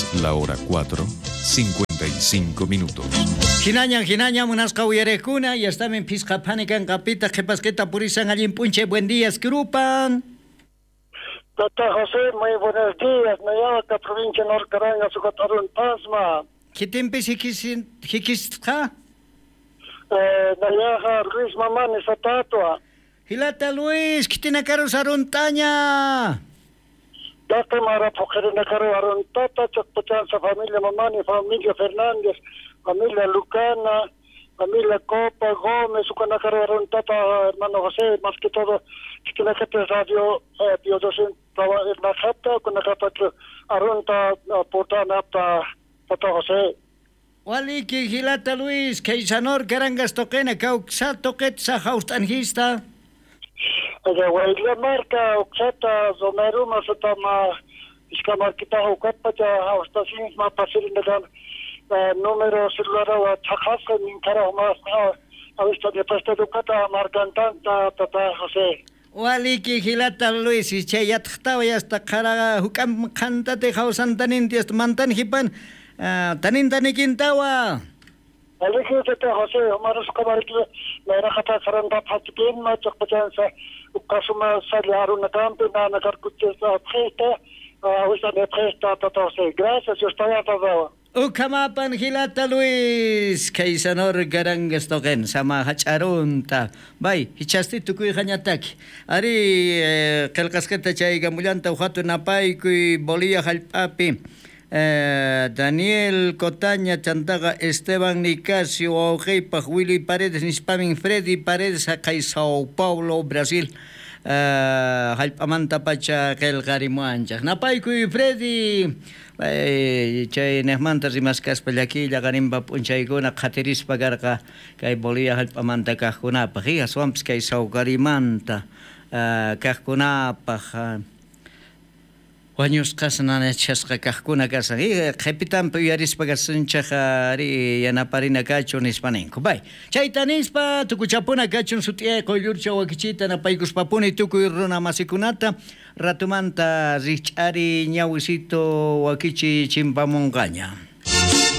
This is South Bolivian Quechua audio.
Es la hora 4, 55 minutos. Hinaña, hinaña, munasqa uyariqkuna, ya estamen phisqa phani kanqapita qhipasqita purisan allin p'unchay, buen día, Skrupan. Tata José, muy buenos días. Nayaca, provincia Norcaranga, Sucatarun, Pasma. Kitimpis hikisqa? Nayaja, Luis Mamani, Satatua. Hilata Luis, kitinakaru saruntaña. Tata Mara Pojerenakaru Aruntata, Chacpachanza, familia Mamani, familia Fernández, familia Lucana, familia Copa, Gómez, Ucanakaru Aruntata, hermano José, más que todo, Chiquinacate Radio, Biodocen, Najata, Ucanacata, Arunta, Putana, Tata José. Waliki, Hilata Luis, Keisanor, Karangas Toquena, Cauxa Toquetza, Haustanjista. Guayla marca, Oxata, Zomeruma, Sotama, Iscamarquita, Ucapacha, Haustasin, Mapasirinagan, número celular, Chajasca, Ninkara, más, Avista de Pesta Ducata, Marcantanta, Tata José. Waliki, Hilata Luis, chay yatqtawa yasta qharaqa huk'am qhantate hawsantaninti hasta mantan hipan, tanintanikintawa. Waliki, Tata José, Omarus Camariki, la Rajata Saranda Patipin, Machapachanza, Ukasuma Sali Aruna Campi, Nana Carcuches, Presta, Avista de Presta, Tata José. Gracias, yo estoy atado. Ukamapan Hilata Luis, Kaysanor Garangas toquen, sama hach'arunta. Bay, hichasti tukuy hañataki. Ari, qillqasqata chaykamullanta uqatu napaykuy Bolivia hallp'api. Daniel Cotaña, chantaqa Esteban Nicasio, wawqiypaq Willy Paredes, nispamin Freddy Paredes, haqay Sao Paulo, Brasil. Hallp'amanta pacha qillqarimuanchaq. Napaykuy Freddy. Chay niqmanta rimaskaspa llakiylla qarinpa p'unchaykuna qhatirispa karqa kay Bolivia hallp'amanta kaqkunapaq, aswanpis kay Sawkarimanta kaqkunapaq wañusqas nanachasqa kaqkuna kasan. Qhipitanpi uyarispa kasunchaq ari yanaparina kachun nispa ninku. Bay, chayta nispa tukuchapuna kachun sut'iyay quyllurcha wakichita napaykuspapuni tukuy runa masikunata ratumanta rikch'ari ñawisito wakichi chimpamunqaña.